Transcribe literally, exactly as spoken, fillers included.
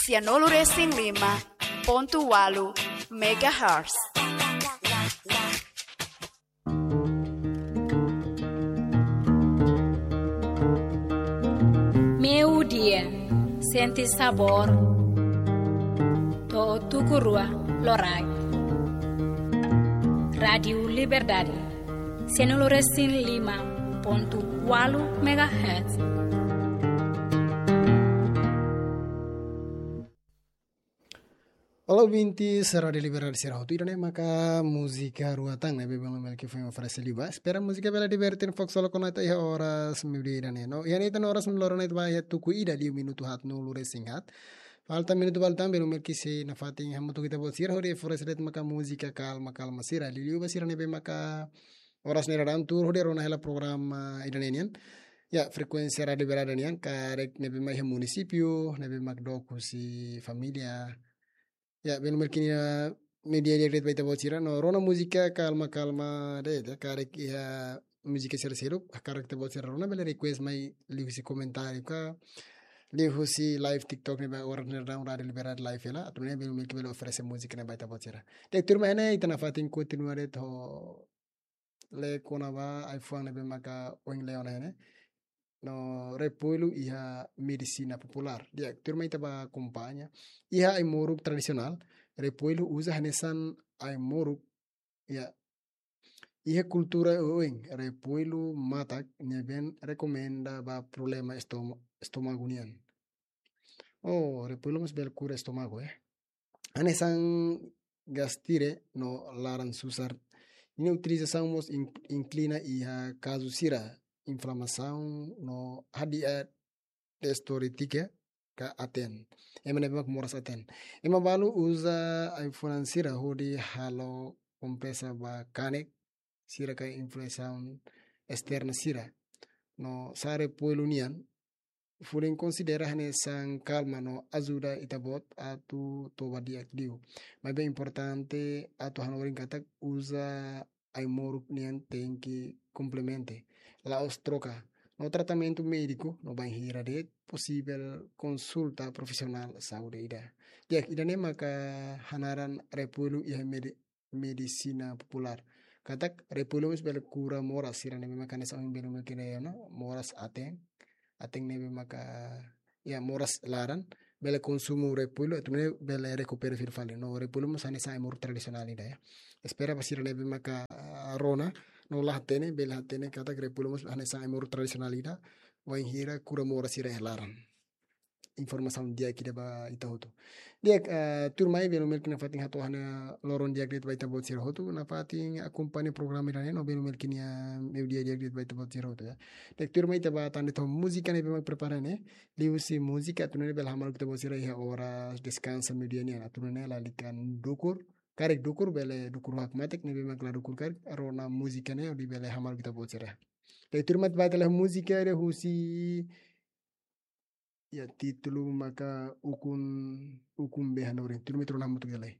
Sianulu resin lima pontu ualu megahertz. Meiudia, sente sabór to'o tuku rua loraik. Rádiu Liberdade, sianulu resin lima pontu ualu megahertz. Olá, ouvintes, Rádiu Liberdade sira hotu, ida-ne'e maka múzika rua tan ne'ebé belun Melki foin oferese liu ba. Espera múzika bele diverte fokus solo konata iha oras meiudia ida-ne'e. No, iha ne'e tan oras meiudia loron ne'e ba iha tuku ida liu minutu haatnulu resin haat. Falta minutu balu tan belun Melki sei nafatin hamutuk ho ita-boot sira hodi oferese de'it maka múzika kalma-kalma sira. Liuliu ba sira ne'ebé maka oras ne'e daudaun tuur hodi rona hela programa ida-ne'e nian. Ya, frekuénsia Rádiu Liberdade nian, karik ne'ebé mak iha munisípiu, ne'ebé mak dook husi família. Ya, belun Melki nia media di'ak de'it ba ita-boot sira, no rona múzika kalma-kalma de'it, ya, karik iha múzika sira seluk, karik ita-boot sira rona bele request mai liuhusi komentáriu ka, liuhusi live TikTok ne'ebé oras ne'e daudaun Rádiu Liberdade live hela, atu nune'e belun Melki bele oferese múzika ne'e ba ita-boot sira. Di'ak, tuirmai ne'e, ita nafatin kontinua de'it ho lee kona-ba ai-fuan ne'ebé maka ohin lee ona ne'e. No, repollu iha medisina populár. Di'ak, tuirmai ita ba akompaña. Iha ai-moruk tradisionál, repollu uza hanesan ai-moruk, ya. Iha kultura oioin, repollu matak ne'ebé rekomenda ba problema estomo-, estómagu nian. Oh, repollu mós bele kura estómagu, eh. Hanesan gastite no laran susar. Nia utilizasaun mós in-, inklina iha kazu sira inflamasaun no hadi'a destoritika ka aten. Ema ne'ebé mak moras aten. Ema balu uza ai-fuan sira hodi halo kompresa ba kanek sira ka inflamasaun esterna sira. No sá repollu nian, folin konsidera hanesan kalma no ajuda ita-boot atu toba di'ak liu. Maibé importante atu hanorin katak uza ai-moruk nian tenke komplementa, la'ós troka. No tratamentu médiku no bainhira de'it posivel konsulta profisionál saúde ida. Di'ak, ida-ne'e maka hanaran repollu iha medi-, medisina populár. Katak repollu mós bele kura moras sira ne'ebé mak hanesan ohin belun Melki nia, no, moras aten, aten ne'ebé maka, ya, moras laran, bele konsumu repollu, atu nune'e bele rekupera fila fali. No, repollu mós hanesan ai-moruk tradisionál ida, ya. Espera ba sira ne'ebé maka, ah, rona, no la hatene, bele hatene katak repollu mós hanesan ai-moruk tradisionál ida, bainhira kura moras sira iha laran. Informasaun di'ak ida ba ita hotu. Di'ak, eh, tuirmai belun Melki nafatin hato'o hanesan loron di'ak de'it ba ita-boot sira hotu, nafatin akompaña programa ida-ne'e, no belun Melki nia meiudia di'ak de'it ba ita-boot sira hotu, ya. Di'ak, tuirmai ita ba tan de'it ho múzika ne'ebé mak prepara ne'e, liuhusi múzika atu nune'e bele hamaluk ita-boot sira iha oras deskansa meiudia nian, atu nune'e lalika dukur, karik dukur bele dukur hakmatek, ne'ebé mak la dukur karik, rona múzika ne'e hodi bele hamaluk ita-boot sira. Di'ak, tuirmai ita ba tan ho múzika ida husi, ya, títulu maka Ukun, Ukun-bee Hanorin. Tuirmai ita rona hamutuk lai.